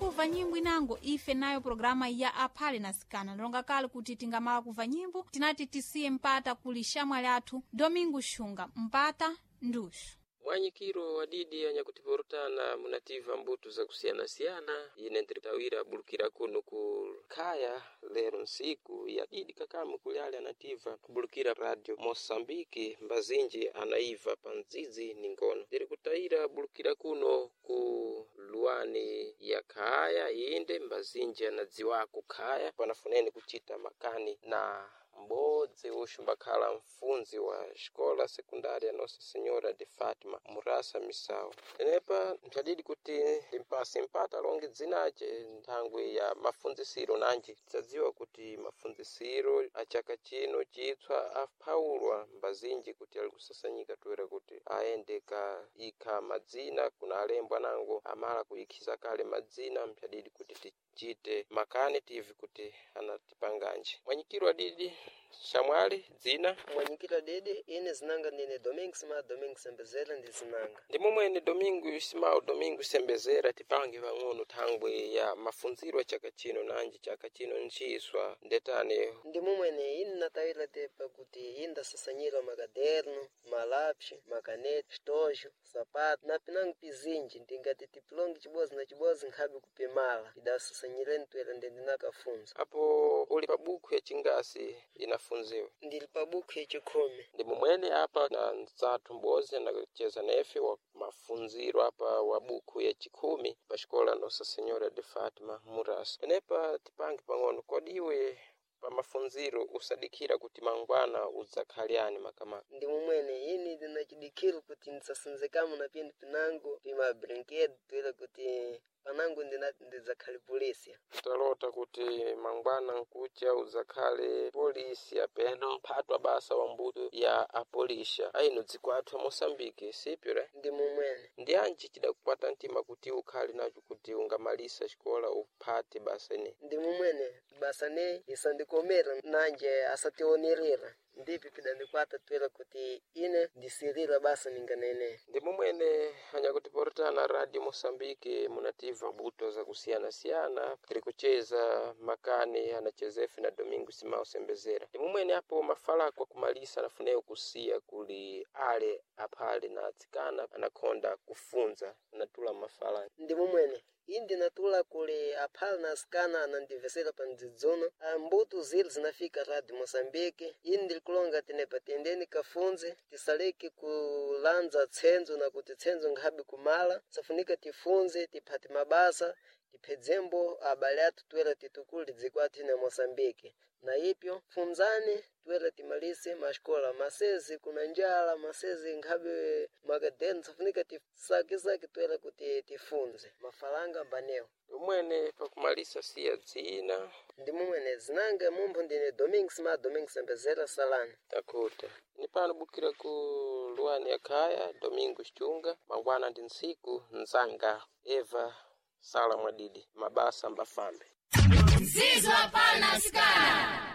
Kuva nyimbo inango ife nayo programa ya aphale na sikana longa kale kuti tingamala kuva nyimbo tinati tisiye mpata kuli shamwali athu Domingo Xunga mpata nduxu. Mwanyikiro wadidi anyakutiporotana munativa mbuto zakusiyana-siyana ine ntiritawira bulukira kuno ku khaya lero nsiku ya didi kakamu kulyali anativa kubulukira radio Moçambique mbazinji anaiva pa ndzidzi ni ngono ndiri kutayira bulukira kuno ku luwani ya khaya inde mbazinji anadziwako khaya panafuneni kuchita makani na m'bodzi uxumbakhala mfundzi wa xikola sekundária Nossa Senhora de Fátima murasa misawu tenepa mpyadidi kuti ndimpase mpata alonge dzinace nthangwi ya mafundzisiro nanji tidzadziwa kuti mafundzisiro a chaka chino chitswa aphawulwa mbazinji kuti ali kusasanyika toera kuti aende ka ikha madzina kuna alembwa nango amala kuyikhiza kale madzina mpyadidi kuti tichite makani tive kuti anatipanganji. Mwanyikiro adidi shamwali dzina? Mwanyikiro didi ine zinanga ndine Domingos ma Domingos Sembezera ndi zinanga. Ndi momwene Domingo Simao Domingo Sembezera tipange pang'ono thangwi ya mafunziro a chaka chino nanji chaka chino nciswa ndetane. Ndi momwene ine natawira tepa kuti indasasanyira makaderno, malapsi, makaneti, xitojo, sapato na pinango pizinji ndingati tipilonge chibodzi na chibodzi nkhabe kupimala idasasanyireni toera ndendinakafunza. Apo uli pa buku ya chingasi inafunziwa? Ndili pa buku yachikhumi. Ndi momwene apa na nzathu m'bodzi anacheza nefe wa mafunziro apa wa buku ya chikhumi pa xikola Nossa Senhora de Fátima murasa. Tenepa tipange pang'ono, kodi iwe pa mafunziro usadikira kuti mangwana udzakhaliyani makamaka? Ndi momwene ine ndinachidikhiro kuti ndisasinzekamo na pindu pinango pima brinquedo toera kuti panango ndidzakhale polisi. Talota kuti mangwana nkucha udzakhale polisi apeno mphatwa basa wa mbuto ya apolisha aino dziko athu a Moçambique sipyo re? Ndi momwene. Ndi anji chidakukwata mtima kuti ukhale nacho kuti ungamalisa xikola uphate basa ine? Ndi momwene basa ne isandikomera nanje asationerera ndipi pidandikwata toera kuti ine ndisirira basa ninganene. Ndi momwene anyakutiporotana radio Moçambique munativa mbuto zakusiyana-siyana tiri kucheza makani anachezefe na Domingo Simao Sembezera. Ndi momwene apo mafalako akumalisa anafuneyo kusiya kuli ale aphale na atsikana anakhonda kufunza anatula mafala. Ndi momwene iyi ndinatula kuli aphale na asikana anandivesera pa mdzidzuno mbuto zili zinafika radio Moçambique. Ini ndilikulonga tenepa tiyendeni kafunze tisaleke kulandza tsenzo na kuti tsenzo nkhabe kumala safunika tifunze tiphate mabasa tiphedzembo abale athu toera titukule dziko athu ine Moçambique. Na ipyo funzani toera timalise maxikola masezi kuna njala masezi nkhabe makadeni safunika tisakesake toera kuti tifunze mafalanga mbanewo. Umwene pakumalisa siya dzina? Ndi momwene zinanga mumpho ndine Domingos ma Domingos Sembezera Salani. Takuta ni pano bukira ku luwani ya khaya Domingo Xunga mangwana ndi ntsiku nzanga Eva Sala Mwadidi mabasa mbafambe. Zizwa pana sikana.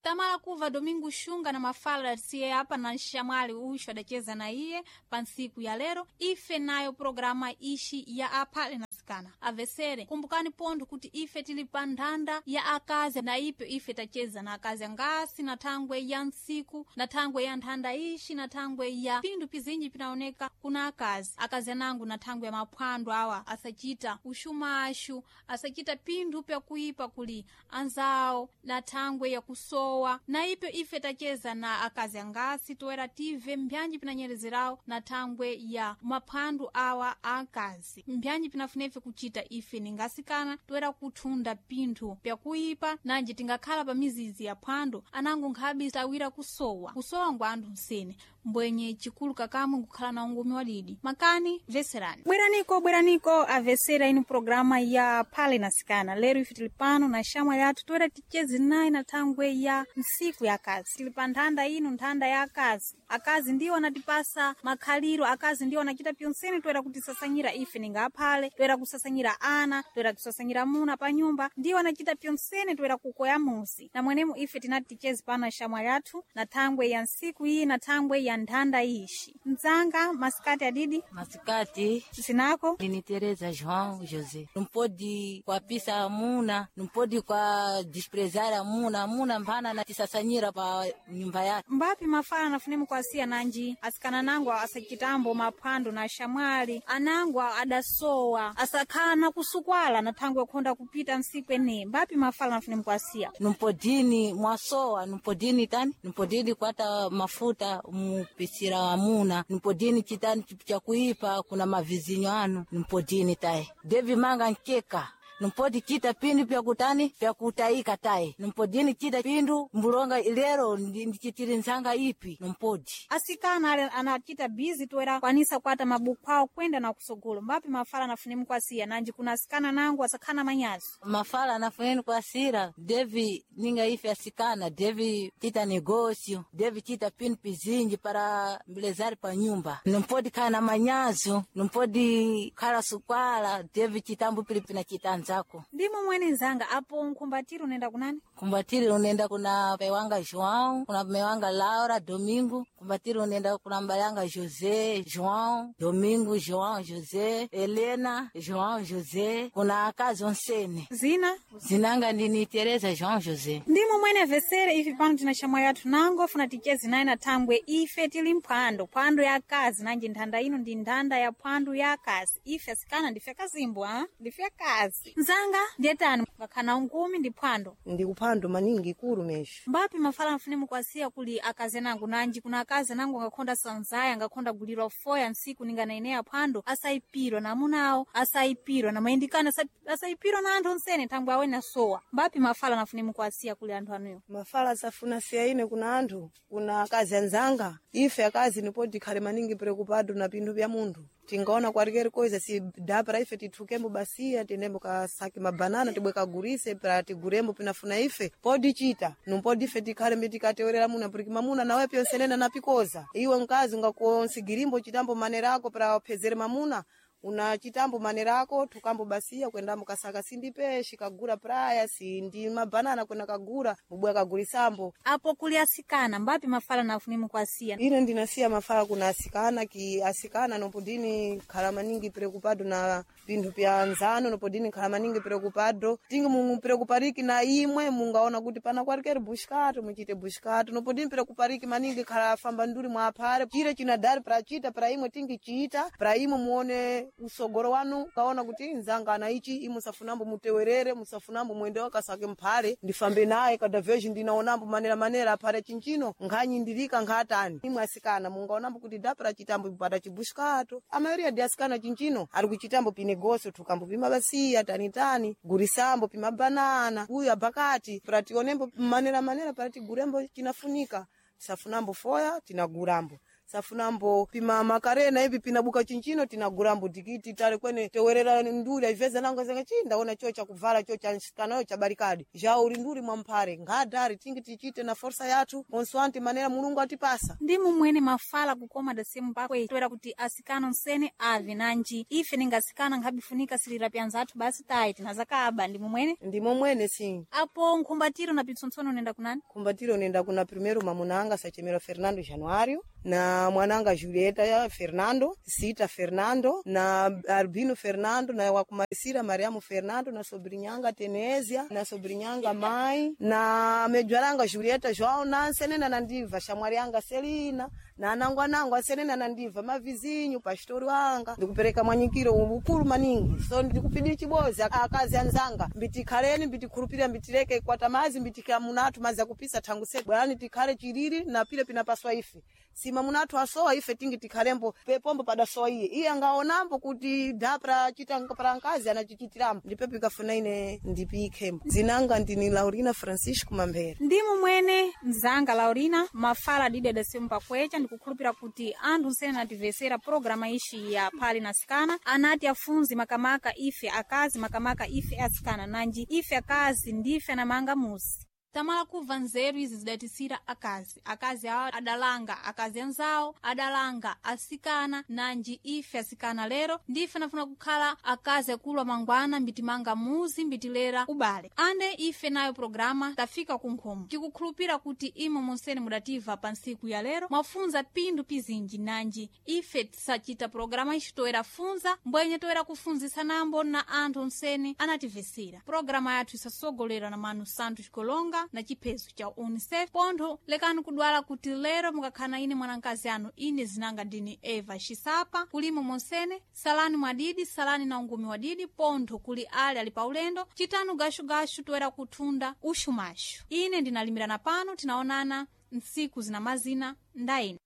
Tamala kuva Domingo Xunga na mafala siye apa na nxamwali uxo adaceza na iye pa ntsiku ya lero ife nayo programa ixi ya aphale na sikana. Avesere kumbukani pontho kuti ife tili pa nthanda ya akazi na ipyo ife tacheza na akazi angasi na thangwe ya ntsiku na thangwe ya nthanda ixi na thangwe ya pinthu pizinji pinaoneka kuna akazi. Akazi anangu na thangwe ya maphwando awa asachita uxumaxu asachita pinthu pyakuipa kuli anzawo na thangwe ya kusowa na ipyo ife tacheza na akazi angasi toera tive mbyanji pinanyerezerawo na thangwe ya maphwando awa a akazi mbyanji pinafunefe kuchita ife ningasikana toera kuthunda pinthu pyakuipa nanji tingakhala pa mizizi ya phwando anango nkhabe tawira kusowa kusowa ngwa anthu msene mbwenye chikulu kakamwe nkukhala na ungumi wadidi. Makani veserani bweraniko bweraniko avesera inu programa ya phale na sikana. Lero ife tili pano na shamwali athu toera ticheze naye na thangwe ya ntsiku ya akazi. Tili pa nthanda ino nthanda ya akazi. Akazi ndiwo anatipasa makhaliro, akazi ndiwo anachita pyonsene toera kutisasanyira ife ninga aphale toera kusasanyira ana toera kusasanyira muna pa nyumba ndiwo anachita pyonsene toera kukoya muzi na mwenemo ife tinati ticheze pano na shamwali athu na thangwe ya ntsiku iyi na thangwe ya ya nthanda ixi. Mdzanga masikati adidi Masikati zinako ndini Tereza João José. Não pode kuapisa amuna, não pode kwa desprezar amuna, amuna mphana natisasanyira pa nyumba yake. Mbapi mafala nafunemu kwasiya nanji asikana nangu asachitambo maphwando na shamwali anangu adasowa asakhala na kusukwala na thangwe khonda kupita nsiku ene. Mbapi mafala nafunemu kwasiya Numpodini mwasowa, numpodini tani, numpodini kwata mafuta mupisira amuna, numpodini chitani chakuipa kuna mavizinyo anu, numpodini tayi. Devi manga nkeka numpodi chita pindu pyakutani pyakutayika tayi, numpodini chita pindu mbulonga lero ndichitiri nzanga ipi numpodi. Asikana ale anachita bizi toera kwanisa kwata mabuku awo kwenda na kusogolo. Mbapi mafala nafunemu kwasiya nanji kuna asikana nangu asakhala manyazi. Mafala nafuneni kwasira devi ninga ife asikana devi chita negócio devi chita pindu pizinji para mbilezari pa nyumba, numpodi khala na manyazo, numpodi khala sukwala devi chitambo pili pina chita anzako. Ndimo mwene nzanga apo nkhumbatiro unaenda kunani? Kumbatiri unaenda kuna pai wanga João, kuna mai wanga Laura Domingo, kumbatiri unaenda kuna mbali yanga José João Domingo, João José Helena João José, kuna akazi onsene. Zina Zinanga ndini Tereza João José. Ndimo mwene vesere ife pano tina shamwali yathu nango funa tichezi naye na thangwe ife tili mphwando phwando ya akazi nanji nthanda ino ndi nthanda ya phwando ya akazi. Ife asikana ndife akazimbwa ha? Ndife akazi nzanga ndiyetani ngakhana unkumi ndi phwando Ndi kuphwando maningi ikulu mesho. Mbapi mafala mfune mukwasiya kuli akazi anangu nanji kuna akazi anangu angakhonda sanzaya angakhonda gulirwa foya nsiku ninganaeneya phwando asayipirwa na amuna awo asayipirwa na mayindikano asayipirwa na anthu onsene thangwe awe nasowa. Mbapi mafala nafune mukwasiya kuli anthu anuyo? Mafala asafuna siya ine kuna anthu, kuna akazi anzanga. Ife akazi nipo tikhale maningi preocupado na pinthu pya munthu. Tingaona kwalikeri koiza si dapara ife tithukembo basiya tendembo kasake mabanana tibwe kagurise pra tigurembo pinafuna ife podi chita numpodi ife tikhale mbitikatewerera muna puriki mamuna nawe pyonsenena napikoza iwe mkazi ungakonsigirimbo chitambo manera ako pra uphezere mamuna una chitambo manera ako thukambo basiya kwendambo kasaka sindi peshi kagura praya sindi mabanana kwenda kagura mubwe kagurisambo. Apo kuli asikana mbapi mafala nafune mukwasiya? Ine ndinasiya mafala kuna asikana ki asikana nopodini khala maningi preocupado na pinthu pya nzano nopodini khala maningi preocupado tingi mungu preocupariki na imwe mungaona kuti pana kwalikeri bushikato muchite bushikato nopodini preocupariki maningi khala famba nduli mwaphale chire chinadari prachita pra imwe tingi chiita pra imwe muone usogoro wanu kaona kuti nzanga ana ichi imwe musafunambo mutewerere musafunambo mwende wakasake mphale ndifambe naye kada veji ndinaonambo manera manera aphale chinchino nkhanyindirika nkhatani imwe asikana mungaonambo kuti dapra chitambo pata chibushikato amayoria di asikana chinchino ari kuchitambo pinegoso thukambo pimabasiya tanitani gurisambo pimabanana uyu abakati pra tionembo manera manera para tigurembo chinafunika safunambo foya tinagurambo safunambo pima makarena ivi pinabuka chinchino tinagurambo tikiti tale kwene tewerera nduli aiveza nango zanga chi ndaona cho chakuvala cho chansikanayo chabarikadi jauri nduli mwamphare ngadari tingi tichite na forsa yathu consoante manera Mulungu atipasa. Ndimo mwene mafala kukoma dasemu pakwe toera kuti asikana onsene ave nanji ife ningasikana nkhabifunika silira pyanzathu basi tayi tinazakaba. Ndimo mwene Ndimo mwene si apo nkhumbatiro na pitsontsono unaenda kunani? Kumbatiro nenda kuna primeiro mamunanga sachemera Fernando Januário na mwananga Julieta Fernando, Sita Fernando na Albino Fernando na wakumarisira Mariamu Fernando na sobrinhanga Tenésia na sobrinhanga mãe na medwaranga Julieta João na nsenena na ndiva shamwarianga Selina na anangu anangu asenena na ndiva mavizinho pastori wanga ndikupereka mwanyikiro ukulu maningi so ndikupidi chibozi akazi anzanga mbitikhaleni mbitikhulupirira mbitileke kwata mazi mbitika munathu mazi akupisa thangu se bwerani tikhale chilili na pile pinapaswa ife sima munathu asowa ife tingi tikhalembo pepombo padasowa iye iye angaonambo kuti dhapra chita para nkazi anachichitirambo ndipo pikafuna ine ndipikhembo zinanga ndini Laurina Francisco Mambere. Ndimo mwene mzanga Laurina mafala adidi adasemu pakwecha ndikukhulupira kuti anthu nsene anatimvesera programa ishi ya phali na sikana anati afunzi makamaka ife akazi makamaka ife asikana nanji ife akazi ndife anamanga muzi. Tamala kubva nzeru izi zidatisira akazi. Akazi awa adalanga akazi anzawo, adalanga asikana, nanji ife asikana lero ndife nafuna kukhala akazi akulu amangwana mbitimanga muzi mbitilera ubale. Ande ife nayo programa tafika kunkhomo. Tikukhulupira kuti imo monsene mudativa pa ntsiku ya lero mwafunza pindu pizinji, nanji ife tisachita programa ixi toera funza mbwenye toera kufunzisa nambo na anthu onsene anativesera. Programa yathu isasogolera na Manu Santos Kolonga na chiphezo cha UNICEF. Pontho lekani kudwala kuti lero mukakhala ine mwanankazi anu ine zinanga ndini Eva Xisapa. Kulimo monsene salani mwadidi, salani na ungumi wadidi. Pontho kuli ali ali paulendo chitanu gashugashu toera kuthunda uxumaxu. Ine ndinalimirana pano, tinaonana ntsiku zina mazina ndaine.